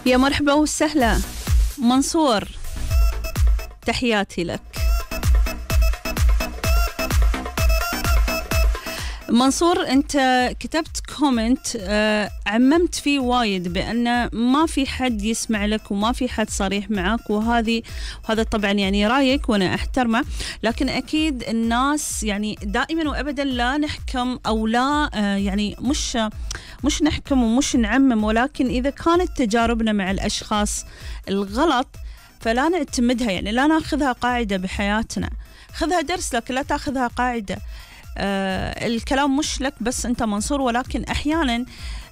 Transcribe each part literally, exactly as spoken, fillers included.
يا مرحبا وسهلا منصور، تحياتي لك. منصور أنت كتبت كومنت آه عممت فيه وايد بأن ما في حد يسمع لك وما في حد صريح معك، وهذه وهذا طبعا يعني رأيك وأنا أحترمه، لكن أكيد الناس يعني دائما وأبدا لا نحكم أو لا آه يعني مش مش نحكم ومش نعمم، ولكن إذا كانت تجاربنا مع الأشخاص الغلط فلا نعتمدها، يعني لا ناخذها قاعدة بحياتنا، خذها درس لكن لا تاخذها قاعدة. آه الكلام مش لك بس أنت منصور، ولكن أحيانا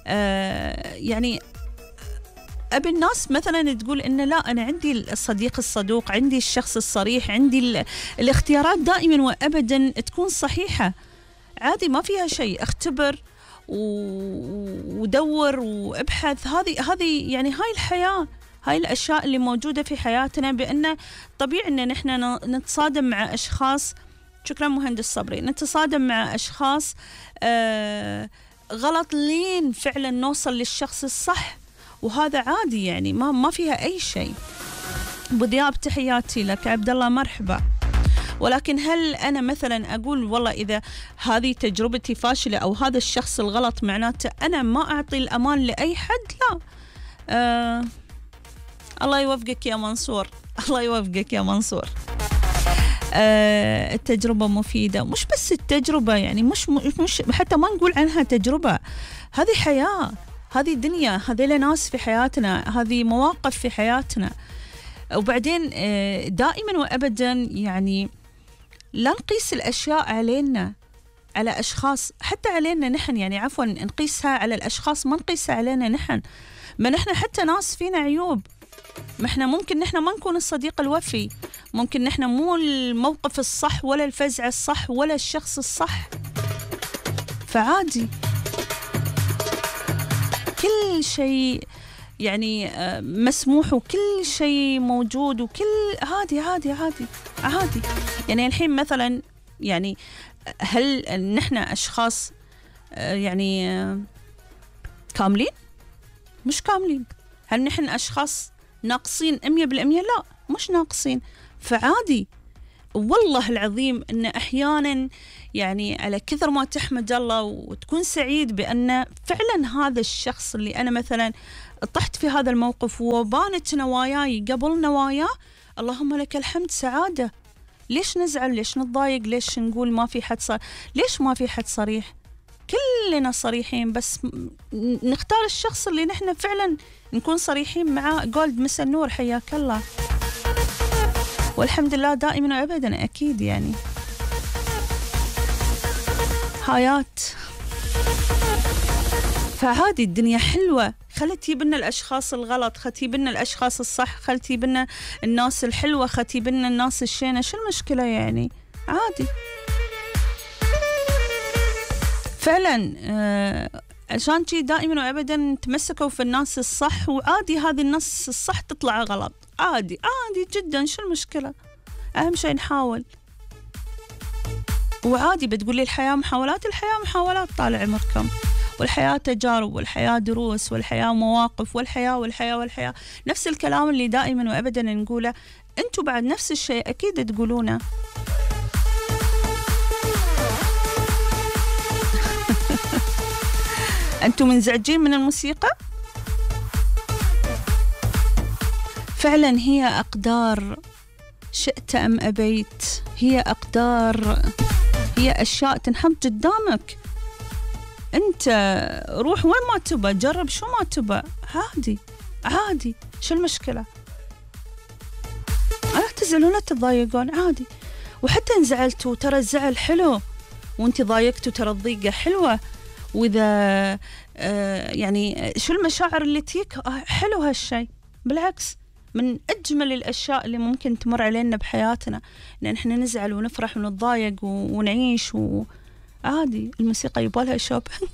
آه يعني أبي الناس مثلا تقول إن لا أنا عندي الصديق الصدوق، عندي الشخص الصريح، عندي الاختيارات دائما وأبدا تكون صحيحة، عادي ما فيها شيء، اختبر ودور وابحث. هذه هذه يعني هاي الحياة، هاي الأشياء اللي موجودة في حياتنا، بأن طبيعي إن نحن نتصادم مع أشخاص. شكرا مهندس صبري. نتصادم مع أشخاص آه غلط لين فعلا نوصل للشخص الصح، وهذا عادي يعني ما ما فيها أي شيء. أبو ذياب تحياتي لك. عبد الله مرحبا. ولكن هل أنا مثلا أقول والله إذا هذه تجربتي فاشلة أو هذا الشخص الغلط معناته أنا ما أعطي الأمان لأي حد؟ لا. آه الله يوفقك يا منصور، الله يوفقك يا منصور. آه التجربة مفيدة، مش بس التجربة يعني مش مش حتى ما نقول عنها تجربة، هذه حياة، هذه دنيا، هذيل ناس في حياتنا، هذه مواقف في حياتنا. وبعدين آه دائما وأبدا يعني لا نقيس الأشياء علينا على أشخاص، حتى علينا نحن، يعني عفوا نقيسها على الأشخاص ما نقيسها علينا نحن، ما نحن حتى ناس فينا عيوب، ما احنا ممكن نحن ما نكون الصديق الوفي، ممكن نحن مو الموقف الصح ولا الفزعة الصح ولا الشخص الصح، فعادي كل شيء يعني مسموح وكل شيء موجود وكل عادي عادي عادي عادي. يعني الحين مثلا يعني هل نحن أشخاص يعني كاملين؟ مش كاملين. هل نحن أشخاص ناقصين مية بالمية؟ لا مش ناقصين، فعادي. والله العظيم أن أحيانا يعني على كثر ما تحمد الله وتكون سعيد بأن فعلا هذا الشخص اللي أنا مثلا طحت في هذا الموقف وبانت نواياي قبل نواياه، اللهم لك الحمد، سعادة. ليش نزعل؟ ليش نتضايق؟ ليش نقول ما في حد صار؟ ليش ما في حد صريح؟ كلنا صريحين، بس نختار الشخص اللي نحن فعلا نكون صريحين معاه. جولد مسا النور حياك الله. والحمد لله دائما وأبدا أكيد يعني حياة، فعادي الدنيا حلوة. خلي تجيبنا الأشخاص الغلط، خلي تجيبنا الأشخاص الصح، خلي تجيبنا الناس الحلوة، خلي تجيبنا الناس الشينة، شو المشكلة يعني؟ عادي فعلا. آه عشان شي دائما وأبدا تمسكوا في الناس الصح، وعادي هذه الناس الصح تطلع غلط، عادي عادي جدا، شو المشكلة؟ أهم شيء نحاول، وعادي. بتقولي الحياة محاولات، الحياة محاولات طال عمركم، والحياة تجارب، والحياة دروس، والحياة مواقف، والحياة والحياة والحياة. نفس الكلام اللي دائما وأبدا نقوله، أنتوا بعد نفس الشيء أكيد تقولونه. أنتوا منزعجين من الموسيقى؟ فعلا هي أقدار، شئت أم أبيت، هي أقدار، هي أشياء تنحط قدامك. أنت روح وين ما تبى، جرب شو ما تبى، عادي عادي، شو المشكلة؟ لا تزعلون لا تضايقون، عادي. وحتى إن زعلتوا ترى الزعل حلو، وانت ضايقتوا ترى الضيقة حلوة. وإذا آه يعني شو المشاعر اللي تيك، حلو هالشي، بالعكس من أجمل الأشياء اللي ممكن تمر علينا بحياتنا، إن إحنا نزعل ونفرح ونتضايق ونعيش، وعادي. الموسيقى يبالها شوبينج.